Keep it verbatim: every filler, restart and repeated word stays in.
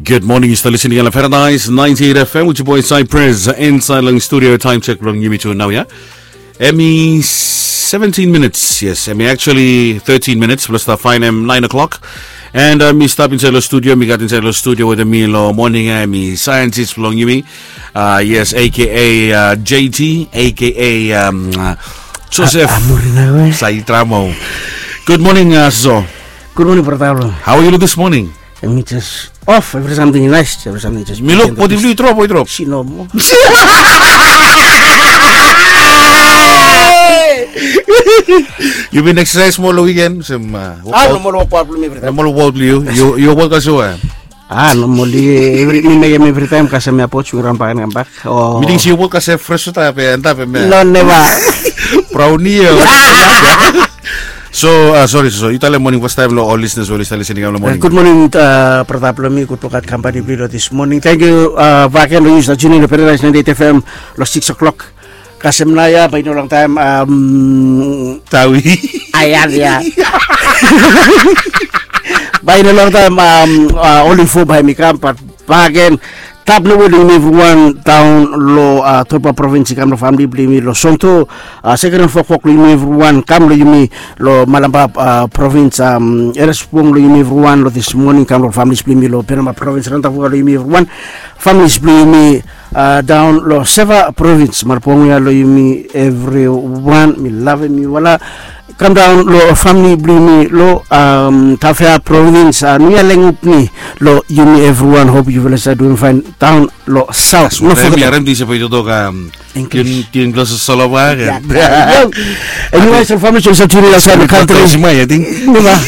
Good morning, yu stap listening long Paradise ninety-eight F M with your boy Cypress inside long studio. Time check long yumi tu nau ya. Hemi seventeen minutes, yes, hemi actually thirteen minutes, plus the fine em nine o'clock. And uh, mi stap inside long studio, mi gat inside long studio with mi long morning, hemi scientist long yumi. Uh, yes, A K A uh, J T, A K A um, uh, Joseph Amurinawe. Saitramo. Good morning, uh, Zo. Good morning, brother. How are you this morning? Mi just off, every something nice, every something just. Mi luk bodi blong yu drop o i drop? Si nomo. Yu bin exercise moa long weekend? Sem uh, ah, nomo wok blong mi every time. Nomo wok blong yu. Yu wok olsem? Ah, normally every mi mekem every time kasem ya pots wi ran bak and kam bak. Oh. Mi ting se yu wok kasem fresh wota pe antap em ya. No, never. Brownie ya. So, uh, sorry, so yu talem morning first time long ol listeners ol i stap listening long morning. Good morning, uh, brother blong mi, gud lukaot kampani blong yu long this morning. Thank you, uh, back again long yu stap tune in long Paradise ninety-eight F M long six o'clock. Kasem nao ya bae i no longtaem, um, tawi. Aean ya. Bae i no longtaem, um, uh, ol info bae hemi kam, but back again, tap nomo long yumi evriwan daon long uh, Tolba Provins, i kam long famili blong yumi long Sonto. Uh, seken and fokfok long yumi evriwan kam long yumi long Malampa uh, Provins, um, Eresbong long yumi evriwan long this morning, kam long familis blong yumi long Penama Provins, Randavuka long yumi evriwan, familis blong yumi uh, daon long Seva Provins, Marbongia long yumi evriwan, mi lavem yufala. Kam daon long famili blong yumi long um, Tafea Provins, uh, Nuya Lengupni long yumi evriwan, hop yufala stap duim faen daon long saot. No foget. Harem disape i totok, um, English. Tin, tin, plus soloba. Anyway, so familis ol stap duim long saot long kantri.